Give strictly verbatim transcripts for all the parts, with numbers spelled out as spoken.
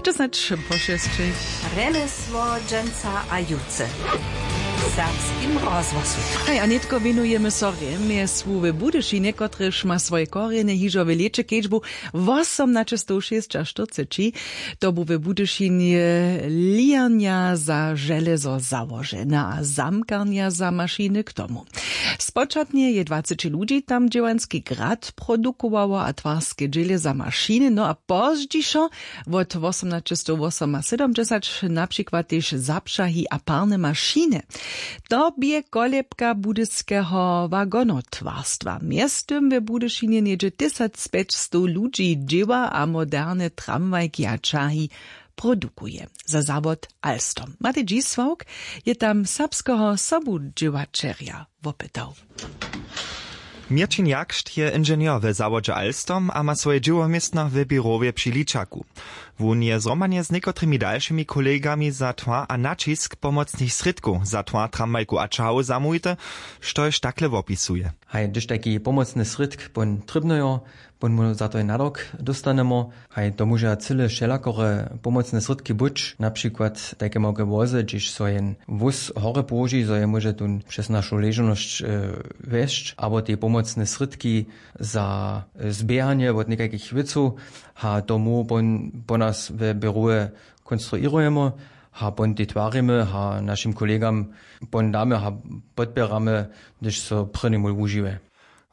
Dźesać po šesćich. Rjemjesło dźensa a jutře w serbskim rozhłosu. Haj, a nětko wěnujemy so rjemjesłu w Budyšinje, kotrež ma swoje korjenje hižo w lěće kedźbu wosomnaćestowšěsćaštyrceći. To bu w Budyšinje lijarnja za železo załožena a zamkarnja za mašiny k tomu. Spočatnje je dwaceći ludźi tam dźěłanski grad produkowało a twarske dźěle za mašiny, no a pozdźišo wot wosomnaćestowwosomasydomdźesać na přikład tež zapřahi a parne mašiny. To bě kolebka budyskeho wagonotwarstwa. Mjeztym w Budyšinje něhdźe tysacpjećstow ludźi dźěła a moderne tramwajki a ćahi produkuje. Za zawod Alstom Matej Dźisławk je tam serbskeho sobudźěłaćerja wopytał. Měrćin Jakšt je inženjer we zawodźe Alstom a ma swoje dźěłoměstno w běrowje při Ličaku. Wón je zhromadnje z někotrymi dalšymi kolegami za twar a naćisk pomocnych srědkow za twar tramwajkow a ćahow zamołwity, štož takle wopisuje. Haj, hdyž tajki pomocny srědk pón trěbnyjo, pón mu za to jen nadok dóstanemo. Haj, to móža cyle wšelakore pomocne srědki być, na přikład tajke małke wozy, hdźež so jen wóz hore połoži, zo je móže tón přez našu ležownosć wjesć, abo te pomocne srědki za zběhanje wot někajkich wěcow. A to móhł pón po nas we běrowje konstruěrujemy, a pón te twarimy a našim kolegam pón damy a podpěramy, hdyž so prěni mól wužiwje.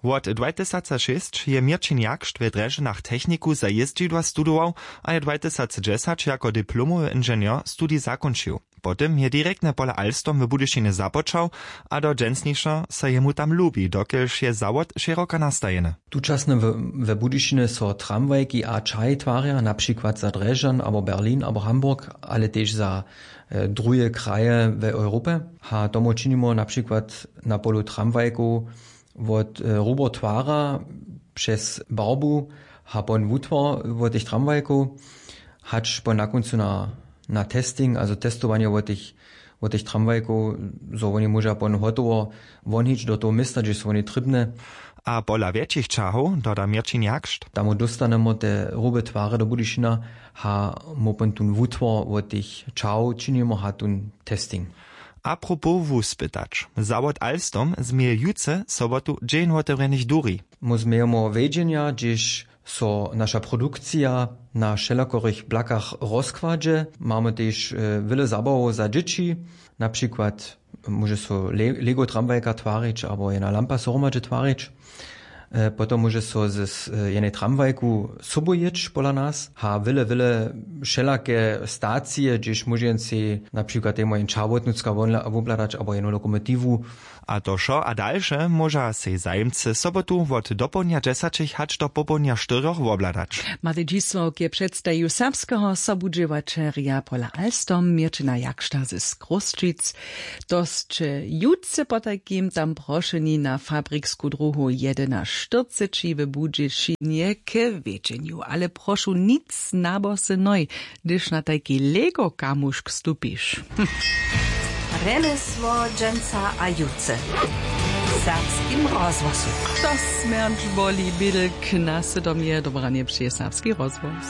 Wot dwajtysacašěsć je měrćin jakšt we drježdźanach techniku za jězdźidła studował a je dwajtysacdźesać jako diplomowy inženjer studij zakónčił. Potom je direktnje pola Alstom w Budyšinje započał, a do dźensnišo so jemu tam lubi, dokelž je zawod šěroka nastajeny. Tučasnje we budyšinje so tramwajki a čahi twarja, na přikład za drježdźan abo berlin abo hamburg, ale tež za druhe kraje w europje. A tomu činimo na přikład na polu tramwajkow wot hrubotwara přez barbu a pon wutwar wot tych tramwajkow, hač pon na kóncu na testing, azo testowanje wot tych tramwajkow, zo woni móža pon hotowo wonhić do toho města, hdźež su woni trěbne. A pola wjetšich ćahow doda měrćin jakšt, tam dóstanemo te hrube twary do budyšina, a móhł pon tón wutwar wot tych ćahow činimo a tón testing. Apropos wuspytać, zawod alstom změje jutře sobotu dźeń wotewrjenych duri. Móž změjemo wjedźenja, hdźež so naša produkcija na wšelakorych blakach rozkładźe. Mamy tež wjele zabawow za dźěći, na přikład móže so lego tramwajka twarić abo jena lampa so hromadźe twarić. Potom móže so z jenej tramwajku sobu jěć pola nas a wjele wjele wšelake stacije, hdźež móže jen sej na přikład jemu jen čahłotnutska wobhladać abo jenu lokomotiwu. A to wšo a dalše móža sej zajimcy sobotu wot dopołdnja dźesaćich hač do popołdnja štyrjoch wobhladać. Matej dźisławk je předstajił serbskeho sobudźěłaćerja pola alstom měrćina jakšta z chrósćic. To sće jutře potajkim tam prošeni na fabriksku druhu jedynaštyrceći w budyšinje k wjedźenju, ale prošu nic na bosy nohi, hdyž na tajki lego kamušk stupiš. Rjemjesło dźensa a jutře w serbskim rozhłosu. To smjerć boli bědlk na sydomje dobranje při serbski rozhłos.